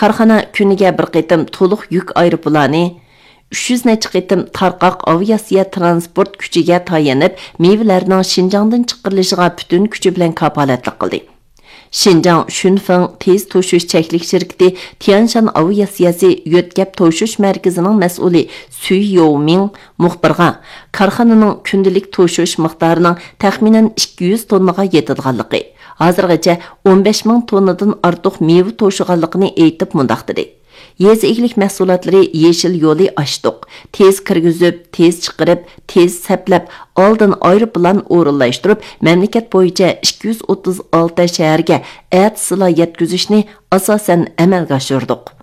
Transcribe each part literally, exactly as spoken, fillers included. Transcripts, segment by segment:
كارخانا كۈنىگە بىر قېتىم تولۇق يۈك ئايروپىلانى، ئۈچ يۈز نەچچە قېتىم تارقاق ئاۋىئاتسىيە تىرانسپورت كۈچىگە تايىنىپ، مېۋىلەرنىڭ شىنجاڭدىن چىقىرىلىشىغا پۈتۈن كۈچى بىلەن كاپالەتلىك قىلدى. شىنجاڭ شۈنفېڭ تېز توشۇش چەكلىك شىركىتى تيەنشان ئاۋىئاتسىيەسى يۆتكەپ توشۇش مەركىزىنىڭ مەسئۇلى سۈي يومىڭ مۇخبىرغا كارخانىنىڭ كۈندىلىك توشۇش مىقدارىنىڭ تەخمىنەن ئىككى يۈز توننىغا يېتىدىغانلىقى، ھازىرغىچە ئون بەش مىڭ توننىدىن ئارتۇق مېۋە توشۇغانلىقىنى ئېيتىپ مۇنداق دېدى: يېزا ئىگىلىك مەھسۇلاتلىرى يېشىل يولى ئاچتۇق. تېز كىرگۈزۈپ، تېز چىقىرىپ، تېز سەپلەپ، ئالدىن ئايروپىلان ئورۇنلاشتۇرۇپ، مەملىكەت بويىچە ئىككى يۈز ئوتتۇز ئالتە شەھەرگە ئەتىسىلا يەتكۈزۈشنى ئاساسەن ئەمەلگە ئاشۇردۇق.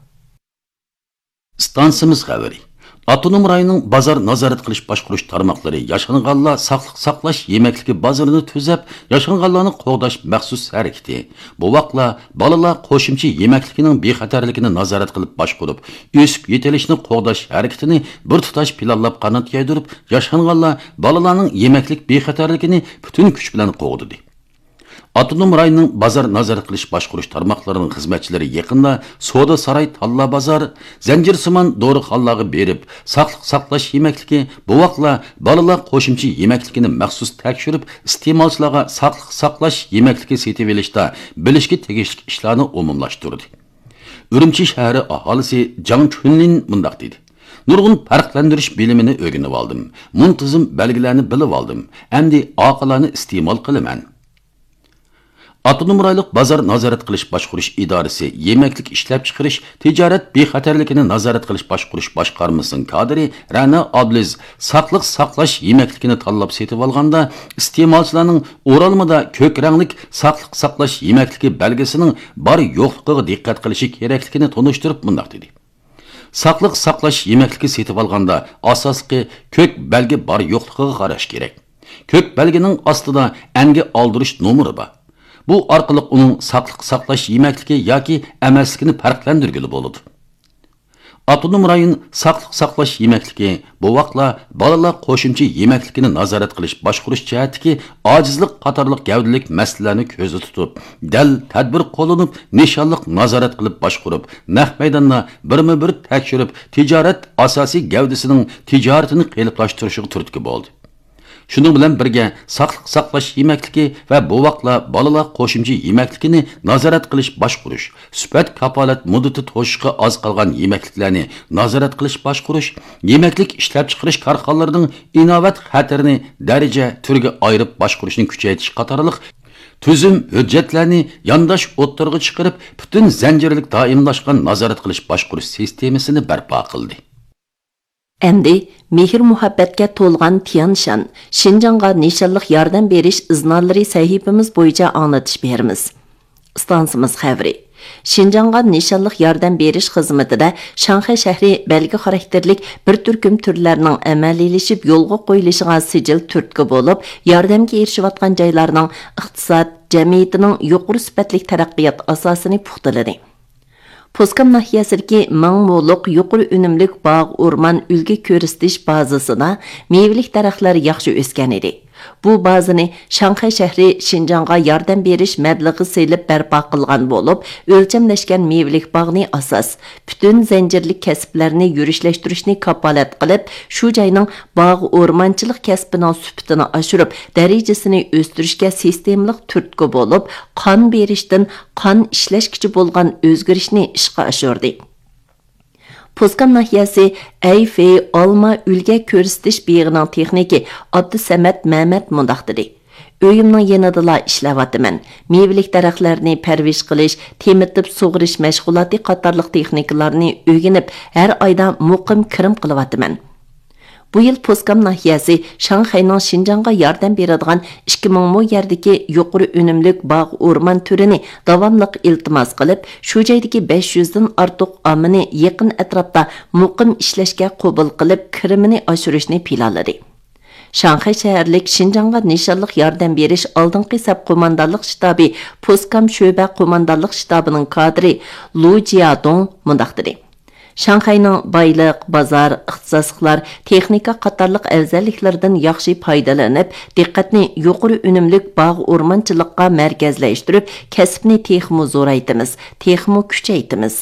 ئىستانسىمىز خەۋىرى. ئاپتونوم رايوننىڭ بازار نازارەت قىلىش باشقۇرۇش تارماقلىرى ياشانغانلار ساقلىق ساقلاش يېمەكلىكى بازىرىنى تۈزەپ، ياشانغانلارنى قوغداش مەخسۇس ھەرىكىتى، بوۋاقلار، بالىلار قوشۇمچە يېمەكلىكىنىڭ بىخەتەرلىكىنى نازارەت قىلىپ باشقۇرۇپ، ئۆسۈپ يېتىلىشنى قوغداش ھەرىكىتىنى بىر تۇتاش پىلانلاپ قانات يايدۇرۇپ، ياشانغانلار، بالىلارنىڭ يېمەكلىك بىخەتەرلىكىنى پۈتۈن كۈچ بىلەن قوغدىدى. ئاپتونوم رايوننىڭ بازار نازارەت قىلىش باشقۇرۇش تارماقلىرىنىڭ خىزمەتچىلىرى يېقىندا سودا ساراي تاللا بازار، زەنجىرسىمان دورىخانىلارغا بېرىپ، ساقلىق ساقلاش يېمەكلىكى، بوۋاقلار، بالىلار قوشۇمچە يېمەكلىكىنى مەخسۇس تەكشۈرۈپ، ئىستېمالچىلارغا ساقلىق ساقلاش يېمەكلىكى سېتىۋېلىشتا بىلىشكە تېگىشلىك ئىشلارنى ئومۇملاشتۇردى. ئۈرۈمچى شەھىرى ئاھالىسى جاڭ چۈنلىن مۇنداق دېدى: نۇرغۇن پەرقلەندۈرۈش بىلىمىنى ئۆگىنىۋالدىم، مۇنتىزىم بەلگىلەرنى بىلىۋالدىم، ئەمدى ئاقىلانە ئىستېمال قىلىمەن. ئاپتونوم رايونلۇق بازار نازارەت قىلىش باشقۇرۇش ئىدارىسى يېمەكلىك ئىشلەپچىقىرىش تىجارەت بىخەتەرلىكىنى نازارەت قىلىش باشقۇرۇش باشقارمىسىنىڭ كادىرى رەنا ئابلىز ساقلىق ساقلاش يېمەكلىكىنى تاللاپ سېتىۋالغاندا، ئىستېمالچىلارنىڭ ئورالمىدا كۆك رەڭلىك ساقلىق ساقلاش يېمەكلىكى بەلگىسىنىڭ بار يوقلۇقىغا دىققەت قىلىشى كېرەكلىكىنى تونۇشتۇرۇپ مۇنداق دېدى: ساقلىق ساقلاش يېمەكلىكى سېتىۋالغاندا ئاساسلىقى كۆك بەلگە بار يوقلۇقىغا قاراش كېرەك. كۆك بەلگىنىڭ ئاستىدا ئەنگە ئالدۇرۇش نومۇرى بار. بۇ ئارقىلىق ئۇنىڭ ساقلىق ساقلاش يېمەكلىكى ياكى ئەمەسلىكىنى پەرقلەندۈرگىلى بولىدۇ. ئاپتونوم رايون ساقلىق ساقلاش يېمەكلىكى، بوۋاقلار، بالىلار قوشۇمچە يېمەكلىكىنى نازارەت قىلىش باشقۇرۇش جەھەتتىكى ئاجىزلىق قاتارلىق گەۋدىلىك مەسىلىلەرنى كۆزدە تۇتۇپ، دەل تەدبىر قوللىنىپ، نىشانلىق نازارەت قىلىپ باشقۇرۇپ، نەق مەيداندا بىرمۇ بىر تەكشۈرۈپ، تىجارەت ئاساسىي گەۋدىسىنىڭ تىجارىتىنى قېلىپلاشتۇرۇشىغا تۈرتكە بولدى. شۇنىڭ بىلەن بىرگە، ساقلىق ساقلاش يېمەكلىكى ۋە بوۋاقلار، بالىلار قوشۇمچە يېمەكلىكىنى نازارەت قىلىش باشقۇرۇش، سۈپەت كاپالەت مۇددىتى توشۇشقا ئاز قالغان يېمەكلىكلەرنى نازارەت قىلىش باشقۇرۇش، يېمەكلىك ئىشلەپچىقىرىش كارخانىلىرىنىڭ ئىناۋەت خەتىرىنى دەرىجە، تۈرگە ئايرىپ باشقۇرۇشنى كۈچەيتىش قاتارلىق تۈزۈم، ھۆججەتلەرنى يانداش ئوتتۇرىغا چىقىرىپ، پۈتۈن زەنجىرلىك دائىملاشقان نازارەت قىلىش باشقۇرۇش سىستېمىسىنى بەرپا قىلدى. ئەمدى مېھىر-مۇھەببەتكە تولغان تيەنشان، شىنجاڭغا نىشانلىق ياردەم بېرىش ئىزنالىرى سەھىپىمىز بويىچە ئاڭلىتىش بېرىمىز. ئىستانسىمىز خەۋىرى. شىنجاڭغا نىشانلىق ياردەم بېرىش خىزمىتىدە شاڭخەي شەھىرى بەلگە خاراكتېرلىك بىر تۈركۈم تۈرلەرنىڭ ئەمەلىيلىشىپ يولغا قويۇلۇشىغا سىجىل تۈرتكە بولۇپ، ياردەمگە ئېرىشىۋاتقان جايلارنىڭ ئىقتىساد، جەمئىيىتىنىڭ يۇقىرى سۈپەتلىك تەرەققىيات ئاساسىنى پۇختىلىدى. پوسكام ناھىيەسىدىكى مىڭ مولۇق يۇقىرى ئۈنۈملۈك باغ ئورمان ئۈلگە كۆرسىتىش بازىسىدا مېۋىلىك دەرەخلەر ياخشى ئۆسكەن ئىدى. بۇ بازىنى شاڭخەي شەھىرى شىنجاڭغا ياردەم بېرىش مەبلىغى سېلىپ بەرپا قىلغان بولۇپ، ئۆلچەملەشكەن مېۋىلىك باغنى ئاساس، پۈتۈن زەنجىرلىك كەسىپلەرنى يۈرۈشلەشتۈرۈشنى كاپالەت قىلىپ، شۇ جاينىڭ باغ ئورمانچىلىق كەسپىنىڭ سۈپىتىنى ئاشۇرۇپ، دەرىجىسىنى ئۆستۈرۈشكە سىستېمىلىق تۈرتكە بولۇپ، قان بېرىشتىن قان ئىشلەشكىچە بولغان ئۆزگىرىشنى ئىشقا ئاشۇردى. پوسكام ناھىيەسى ئەيفېي ئالما ئۈلگە كۆرسىتىش بېغىنىڭ تېخنىكى ئابدۇسەمەت مەمەت مۇنداق دېدى: ئۆيۈمنىڭ يېنىدىلا ئىشلەۋاتىمەن. مېۋىلىك دەرەخلەرنى پەرۋىش قىلىش، تېمىتىپ سۇغىرىش مەشغۇلاتى قاتارلىق تېخنىكىلارنى ئۆگىنىپ، ھەر ئايدا مۇقىم كىرىم قىلىۋاتىمەن. بۇ يىل پوسكام ناھىيەسى شاڭخەينىڭ شىنجاڭغا ياردەم بېرىدىغان ئىككى مىڭ مو يەردىكى يۇقىرى ئۈنۈملۈك باغ ئورمان تۈرىنى داۋاملىق ئىلتىماس قىلىپ، شۇ جايدىكى بەش يۈزدىن ئارتۇق ئاممىنى يېقىن ئەتراپتا مۇقىم ئىشلەشكە قوبۇل قىلىپ، كىرىمىنى ئاشۇرۇشنى پىلانلىدى. شاڭخەي شەھەرلىك شىنجاڭغا نىشانلىق ياردەم بېرىش ئالدىنقى سەپ قوماندانلىق شتابى پوسكام شۆبە قوماندانلىق شتابىنىڭ كادىرى لۇ جيادۇڭ مۇنداق دېدى: شاڭخەينىڭ بايلىق، بازار، ئىختىساسلىقلار، تېخنىكا قاتارلىق ئەۋزەللىكلىرىدىن ياخشى پايدىلىنىپ، دىققەتنى يۇقىرى ئۈنۈملۈك باغ ئورمانچىلىققا مەركەزلەشتۈرۈپ، كەسىپنى تېخىمۇ زورايتىمىز، تېخىمۇ كۈچەيتىمىز.